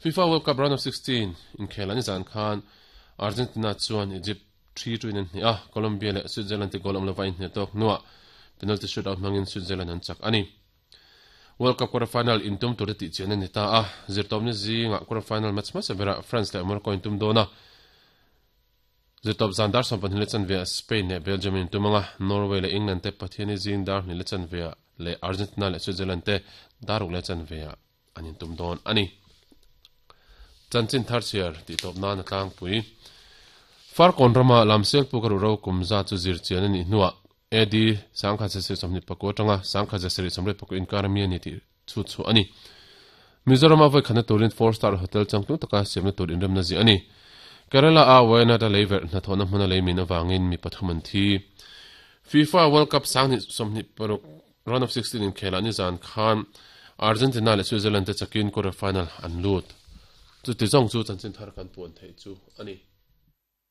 FIFA World Cup Round of 16 inkhel an zan khan Argentina chuan Egypt 3-2 in an hneh a, Colombia leh Switzerland te goal awm lova inhneh tawk hnuah penalty shootout hmangin Switzerland an chak a ni. World Cup quarter final intum tur te tih chian a ni ta a, zirtawpni zingah quarter final match hmasa berah France leh Morocco intum dawn a, zirtawp zan dar 12 leh chanve ah Spain leh Belgium intum anga, Norway leh England te Pathiani zing dar 2 leh chanve ah leh Argentina leh Switzerland te dar 6 leh chanve ah an intum dawn a ni. Chanchin thar chhiar tih tawp nan a tlangpui. Farkawn rama Lamsial puk a ruhro kum zat chu zir chian a nih hnuah AD 1724 atanga 1784 inkar ami a ni tih chhut chhuah a ni. Mizorama vawikhatna turin four star hotel changtlung taka siamna tur inremna ziah a ni. Kerala a Wayanad a leiverh hnathawhna hmuna leimin avangin mi pathum an thi. FIFA World Cup 2026 Round of 16 inkhelah nizan khan Argentina leh Switzerland te chakin quarter final an lut. Chuti zawng chu chanchin thar kan puan theih chu a ni.